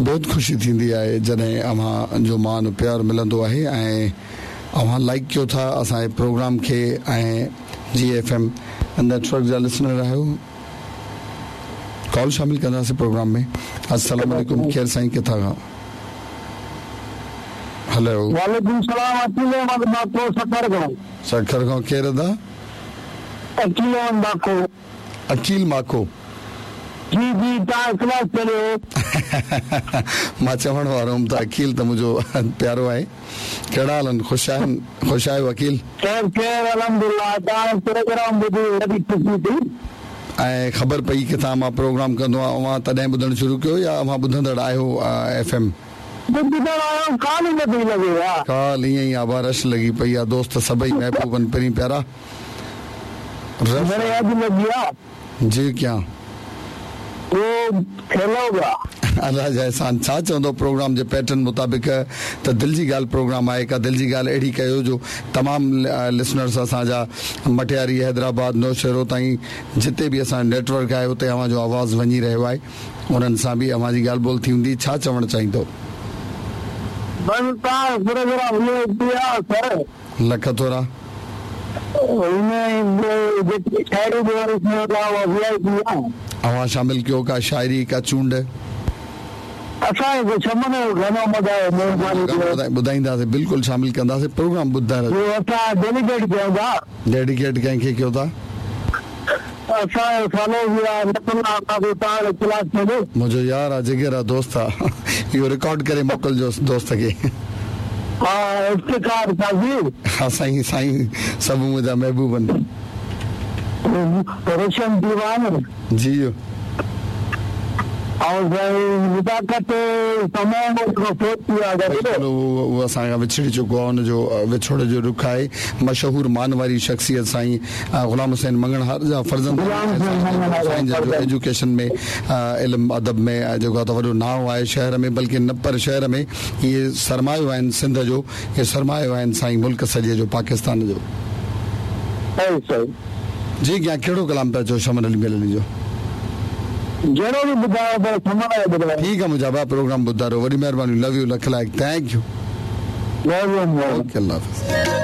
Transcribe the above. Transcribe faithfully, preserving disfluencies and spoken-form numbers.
بيحد خوشي ٿيندي آهي جڏهن اوهان جو مان پيار ملندو آهي ۽ اوهان لائيڪ ڪيو ٿا اسان جي پروگرام کي ۽ جي ايف ايم نيٽ ورڪ جا لسنر آهيو. ڪال شامل ڪنداسين پروگرام ۾. السلام عليڪم، ڪير سائين، ڪٿان کان؟ هلو. وعليڪم سلام، عقيل احمد باکو، سکر کان. سکر کان ڪير ادا؟ عقيل احمد باکو. عقيل ماکو. جي جي، توهان اخلاص ڪريو. مان چوڻ وارو هئم ته عقيل ته منهنجو پيارو آهي. ڪهڙا حال آهن، خوش آهن؟ خوش آهيو عقيل؟ خير خير، الحمدلله. توهان پروگرام ٻڌي وڏي خوشي ٿي. ۽ خبر پئي ڪٿان مان پروگرام ڪندو آهيان، اوهان تڏهن ٻڌڻ شروع ڪيو يا اوهان ٻڌندڙ آهيو ايف ايم؟ ٻڌندڙ آهيان، ڪال ئي نٿي لڳي ها. ڪال ائين ئي آ، رش لڳي پئي آهي، دوست سڀئي محبوبن پرين پيارا. رش گهڻي اڄ لڳي آ. جي ڪيان. اهو کيلو پيا. الله جا احسان. ڇا چوندو پروگرام جي پيٽرن مطابق ته دل جي ڳالهه پروگرام آهي، ڪا دل جي ڳالهه اهڙي ڪيو جو تمام لسنرس اسان جا مٽياري، حيدرآباد، نوشهرو تائين جتي به اسان جو نيٽ ورڪ آهي اتي اوهان جو آواز وڃي رهيو آهي، انهن سان به اوهان جي ڳالهه ٻولهه ٿي هوندي، ڇا چوڻ چاهيندو؟ بس توهان پروگرام وي I P آ سر. لک ٿورا. هن جيڪي شاعري به واري ٿيو ٿا اها وي I P آ. اوهان شامل ڪيو ڪا شاعري ڪا چونڊ؟ اسان کي شمن جو گانو مدايو، مهرباني ڪيو. ٻڌائينداسين، بلڪل شامل ڪنداسين، پروگرام ٻڌائي. اهو اسان ڊيڊيڪيٽ ڪيون ٿا. ڊيڊيڪيٽ ڪنهن کي ڪيو ٿا؟ اسان جو سالو به آهي نقل آ توهان ڪلاس ۾. منهنجو يار آ، جگر آ، دوست آ، اهو رڪارڊ ڪري موڪلجوس دوست کي. ها، افتخار قاضي. ها سائين، سائين سڀ منهنجا محبوب آهن. روشن ديوان. جي. ۽ سائين نزاڪت تمام فوت ٿي ويو آهي. بلڪل، اهو اسان کان وڇڙي چڪو آهي، ان جو وڇوڙي جو ڏک آهي. مشهور مانواري شخصيت سائين غلام حسين مڱڻهار جا فرزند، سائين جن جو ايجوڪيشن ۾، علم ادب ۾ جيڪو آهي ته وڏو نانءُ آهي شهر ۾، بلڪه نه پر شهر ۾ اهي سرمايو آهن سنڌ جو، اهي سرمايو آهن سائين ملڪ سڄي جو، پاڪستان جو. صحيح صحيح. جي ڪيان، ڪهڙو ڪلام پيا چئو شمن علي ميلڻي جو؟ جهڙو به ٻڌايو پر شمن جو ٻڌايو. ٺيڪ آهي منهنجا ڀاء، پروگرام ٻڌايو، وڏي مهرباني، لو you, lakh لائق، thank you. Okay, Allah Hafiz.